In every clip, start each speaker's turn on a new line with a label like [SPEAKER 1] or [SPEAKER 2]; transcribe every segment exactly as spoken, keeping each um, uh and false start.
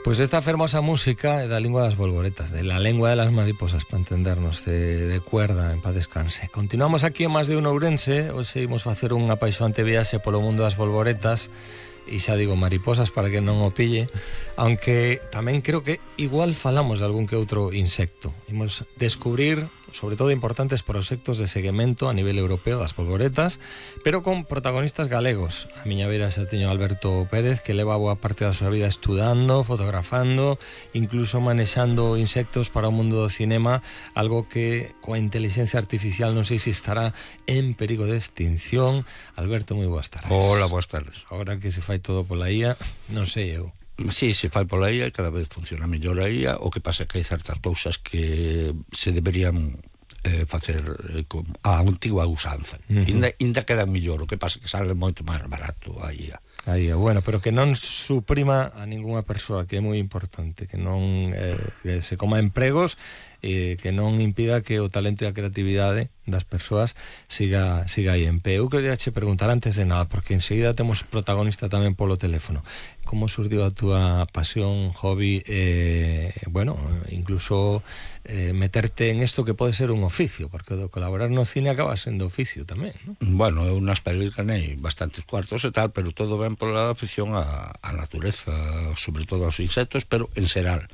[SPEAKER 1] Pois esta fermosa música é da lingua das bolboretas, de la lengua de las mariposas, para entendernos, de, de cuerda, en paz descanse. Continuamos aquí en Más de un Ourense. Hoxe imos facer unha apaixonante viaxe polo mundo das bolboretas, e xa digo mariposas para que non o pille, aunque tamén creo que igual falamos de algún que outro insecto. Imos descubrir, sobre todo, importantes proxectos de seguimento a nivel europeo das bolboretas, pero con protagonistas galegos. A miña beira xa teño Alberto Pérez, que leva boa parte da súa vida estudando, fotografando, incluso manexando insectos para o mundo do cinema, algo que coa inteligencia artificial non sei se estará en perigo de extinción. Alberto, moi boas tardes.
[SPEAKER 2] Hola, boas tardes.
[SPEAKER 1] Agora que se fai todo pola I A, non sei eu.
[SPEAKER 2] Sí, se fai pola I A, cada vez funciona mellor a I A. O que pasa é que hai certas cousas que se deberían eh, facer eh, con a antigua usanza. Uh-huh. Inda, inda queda mellor, o que pasa é que sale moito máis barato a I A.
[SPEAKER 1] A I A, bueno, pero que non suprima a ningunha persoa, que é moi importante, que non eh, que se coma empregos, eh, que non impida que o talento e a creatividade das persoas siga, siga aí en pé. Eu queria che preguntar antes de nada, porque enseguida temos protagonista tamén polo teléfono. Como surdiu a túa pasión, hobby, eh, bueno, incluso eh, meterte en isto que pode ser un oficio, porque do colaborar no cine acaba sendo oficio tamén, non?
[SPEAKER 2] Bueno, eu nas pelis ganei bastantes cuartos e tal, pero todo ben pola afición á, á natureza, sobre todo aos insectos, pero en xeral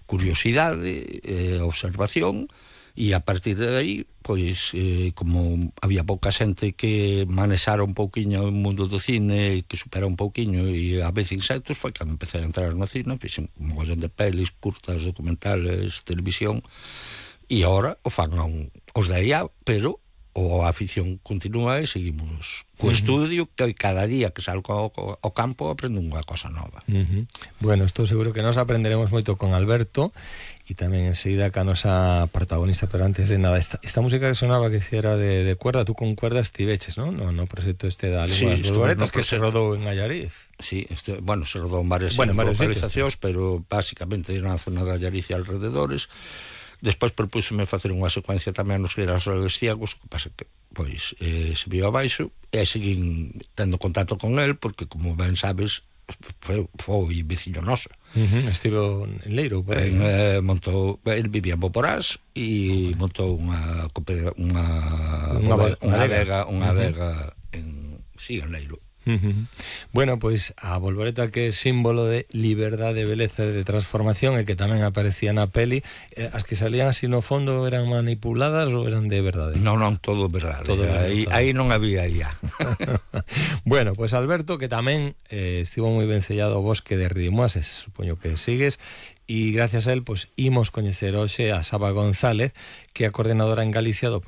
[SPEAKER 2] curiosidade, eh, observación, e a partir de aí, pois, eh, como había pouca xente que manexara un pouquiño o mundo do cine, que supera un pouquiño, e a vez insectos, foi cando empecé a entrar no cine, fixen un mogollón de pelis, curtas, documentales, televisión, e agora o fan un, os da I A, pero o a afición continúa e seguimos co uh-huh. estudio, que cada día que salgo ao, ao campo aprendo unha cosa nova.
[SPEAKER 1] Uh-huh. Bueno, estou seguro que nos aprenderemos moito con Alberto e tamén enseguida ca nosa protagonista, pero antes de nada, esta, esta música que sonaba que era de, de cuerda, tú con cuerda estiveches, non? No, no proxecto este da lingua das bolboretas, no, que se rodou en Allariz.
[SPEAKER 2] Sí, este, bueno, se rodou en varias
[SPEAKER 1] bueno,
[SPEAKER 2] localizacións, pero basicamente na zona de Allariz e alrededores. Despois propúxome facer unha secuencia tamén nos girasoles ciegos, que pasa que, pois, eh, se viu abaixo, e seguín tendo contacto con el, porque, como ben sabes, foi, foi veciño noso.
[SPEAKER 1] Uh-huh. Estivo en Leiro, por aí.
[SPEAKER 2] En, eh, montou, el vivía en Boporás, e uh-huh. montou unha unha, unha, bodega, unha adega, unha adega uh-huh. en, sí, en Leiro.
[SPEAKER 1] Uh-huh. Bueno, pois a bolboreta, que é símbolo de liberdade, beleza, de transformación, e que tamén aparecía na peli, eh, as que salían así no fondo eran manipuladas ou eran de verdade?
[SPEAKER 2] Non, non, todo verdade. Todo aí, aí non había I A.
[SPEAKER 1] Bueno, pois Alberto, que tamén eh, estivo moi vencellado ao bosque de Ridimoases, supoño que sigues, e gracias a él, pois imos coñecer hoxe a Saba González, que é a coordenadora en Galicia do